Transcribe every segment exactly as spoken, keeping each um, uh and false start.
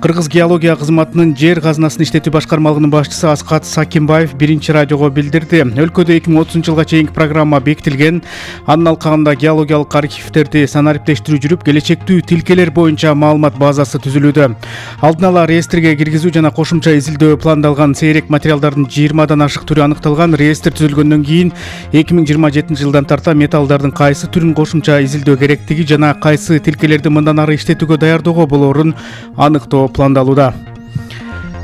Кыргыз геология кызматынын жер казынасын иштетүү башкармалыгынын башчысы Аскат Сакимбаев биринчи радиого билдирди. Өлкөдө эки миң отузунчу жылга чейинки программа бекитилген. Анын алкагында геологиялык архивдерди санариптештирүү жүрүп, келечектүү тилкелер боюнча маалымат базасы түзүлүүдө. Алдын ала реестрге киргизүү жана кошумча изилдөө пландалган. Сейрек материалдардын жыйырмадан ашык түрү аныкталган. Реестр түзүлгөндөн кийин эки миң жыйырма жетинчи жылдан тарта металлдардын кайсы түрүн кошумча изилдөө керектиги жана кайсы тилкелерди мындан ары иштетүүгө даярдоого болоорун аныктоо пландалууда.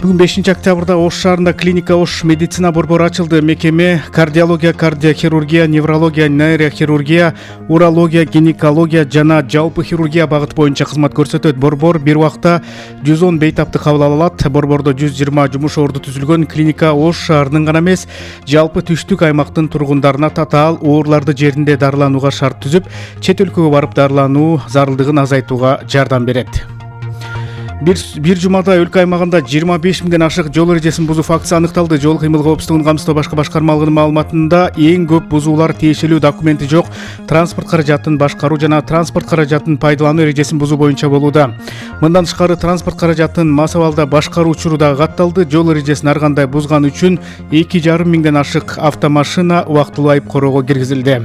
Бүгүн бешинчи октябрда Ош шаарында клиника Ош медицина борбору ачылды. Мекеме кардиология, кардиохирургия, неврология, нейрохирургия, урология, гинекология жана жалпы хирургия багыты боюнча кызмат көрсөтөт. Борбор бир убакта жүз он бейтапты кабыл ала алат. Борбордо жүз жыйырма жумуш орду түзүлгөн. Клиника Ош шаарынын гана эмес, жалпы түштүк аймактын тургундарына татаал ооруларды жеринде дарыланууга шарт түзүп, чет өлкөгө барып дарылануу зарылдыгын азайтууга жардам берет. Бир, бир жумада өлкө аймагында жыйырма беш миңден ашык жол эрежесин бузуу фактысы аныкталды. Жол кыймыл коопсуздугун камсыздоо башкы башкармалыгынын маалыматында эң көп бузуулар тиешелүү документи жок транспорт каражатын башкаруу жана транспорт каражатын пайдалануу эрежесин бузуу боюнча болууда. Мындан тышкары транспорт каражатын мас абалда башкаруу учуру да катталды. Жол эрежесин ар кандай бузган үчүн эки жарым миңден ашык автомашина убактылуу айып короого киргизилди.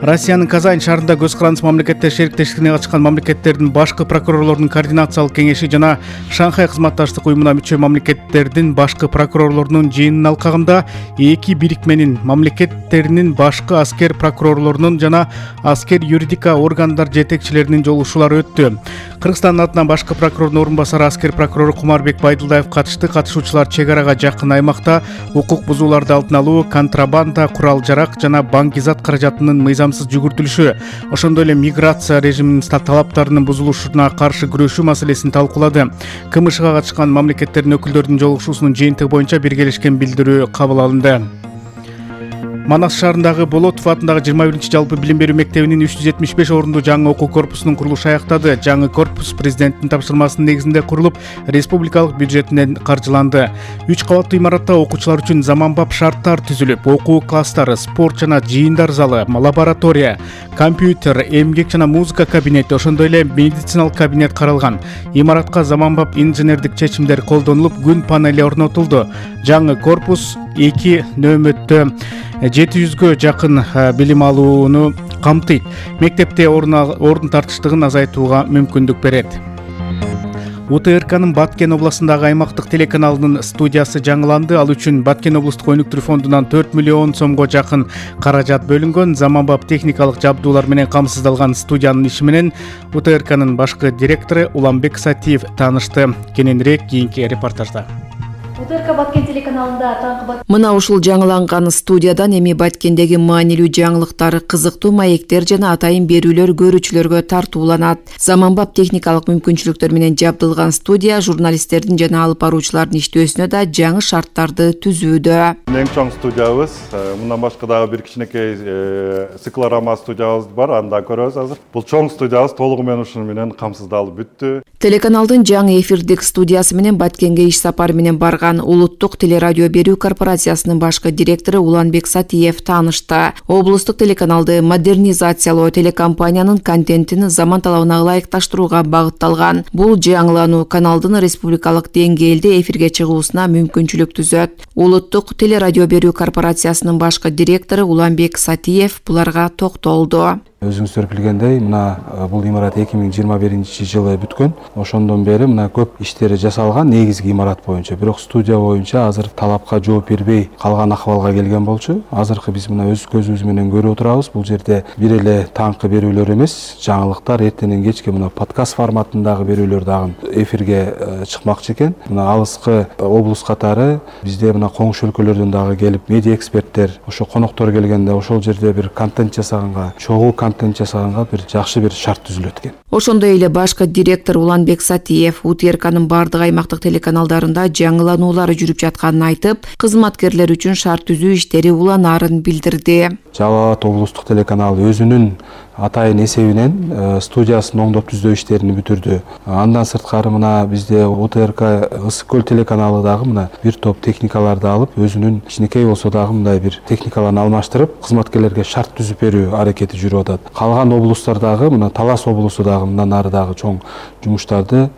Россиянын Казань шаарында көз карандысыз мамлекеттер шериктештигине катышкан мамлекеттердин башкы прокурорлорунун координациялык кеңеши жана Шанхай кызматташтык уюмуна мүчө мамлекеттердин башкы прокурорлорунун жыйынынын алкагында эки бирикменин мамлекеттеринин башкы аскер прокурорлорунун жана аскер юридика органдар жетекчилеринин жолугушуулары өттү. Кыргызстандын атынан башкы прокурордун орун басары аскер прокурору Кумарбек Байдылдаев катышты. Катышуучулар чек арага жакын аймакта укук бузууларды алдын алуу, контрабанда, курал жарак жана банкизат каражатынын мыйзамсыз жүгүртүлүшү, ошондой эле миграция режиминин талаптарынын бузулушуна каршы күрөшүү маселесин талкуулады. КМШга катышкан мамлекеттердин өкүлдөрүнүн жолугушуусунун жыйынтыгы боюнча биргелешкен билдирүү кабыл алынды. Манас шаарындагы Болотов атындагы жыйырма биринчи жалпы билим берүү мектебинин үч жүз жетимиш беш орундуу жаңы окуу корпусунун курулушу аяктады. Жаңы корпус президенттин тапшырмасынын негизинде курулуп, республикалык бюджетинен каржыланды. үч кабаттуу имаратта окуучулар үчүн заманбап шарттар түзүлүп, окуу класстары, спорт жана жыйындар залы, лаборатория, компьютер, эмгек жана музыка кабинети, ошондой эле медициналык кабинет каралган. Имаратка заманбап инженердик чечимдер колдонулуп, күн панели орнотулду. Жаңы корпус эки нөөмөттө жети жүзгө жакын билим алууну камтыйт. Мектепте ордун тартыштыгын азайтууга мүмкүндүк берет. УТРКнын Баткен областындагы аймактык телеканалынын студиясы жаңыланды. Ал үчүн Баткен облустук өнүктүрүү фондунан төрт миллион сомго жакын каражат бөлүнгөн. Заманбап техникалык жабдуулар менен камсыздалган студиянын иши менен УТРКнын башкы директору Уланбек Сатиев таанышты. Кененирээк кийинки репортажда. УТРК Баткен телеканалында таңкы Мына ушул жаңыланган студиядан эми Баткендеги маанилүү жаңылыктар, кызыктуу маектер жана атайын берүүлөр көрүүчүлөргө тартууланат. Заманбап техникалык мүмкүнчүлүктөр менен жабдылган студия журналисттердин жана алып баруучулардын иштөөсүнө да жаңы шарттарды түзүүдө. Эң чоң студиябыз, мындан башка дагы бир кичинекей циклорама студиябыз бар, анда көрөбүз азыр. Бул чоң студиябыз толугу менен ушуну менен камсыздалып бүттү. Телеканалдын жаңы эфирдик студиясы менен Баткенге иш сапары менен барган Улуттук телерадио берүү корпорациясынын башкы директору Уланбек Сатиев таанышты. Облустук телеканалды модернизациялоо телекомпаниянын контентин заман талабына ылайыкташтырууга багытталган. Бул жаңылануу каналдын республикалык деңгээлде эфирге чыгуусуна мүмкүнчүлүк түзөт. Улуттук телерадио берүү корпорациясынын башкы директору Уланбек Сатиев буларга токтолду. Өзүңүздөр билгендей, мына бул имарат эки миң жыйырма биринчи жылы бүткөн. Ошондон бери мына көп иштери жасалган негизги имарат боюнча. Бирок студия боюнча азыр талапка жооп бербей калган акыбалга келген болчу. Азыркы биз мына өз көзүбүз менен көрүп отурабыз. Бул жерде бир эле таңкы берүүлөр эмес, жаңылыктар эртенен кечке мына подкаст форматындагы берүүлөр дагы эфирге чыкмакчы экен. Мына алыскы облус катары бизде мына коңшу өлкөлөрдөн дагы келип медиа эксперттер, ошо коноктор келгенде ошол жерде бир контент жасаганга, чогуу контент жасаганга бир жакшы бир шарт түзүлөт экен. Ошондой эле башкы директор Уланбек Сатиев УТРКнын бардык аймактык телеканалдарында жаңылануулар жүрүп жатканын айтып, кызматкерлер үчүн шарт түзүү иштери уланаарын билдирди. Жалал Абад облустук телеканалы өзүнүн атайын эсебинен студиясын оңдоп түздөө иштерин бүтүрдү. Андан сырткары мына бизде УТРК Ысык көл телеканалы дагы мына бир топ техникаларды алып, өзүнүн кичинекей болсо дагы мындай бир техникаларын алмаштырып, кызматкерлерге шарт түзүп берүү аракети жүрүп атат. Калган облустардагы мына Талас облусу дагы мындан ары дагы чоң жумуштарды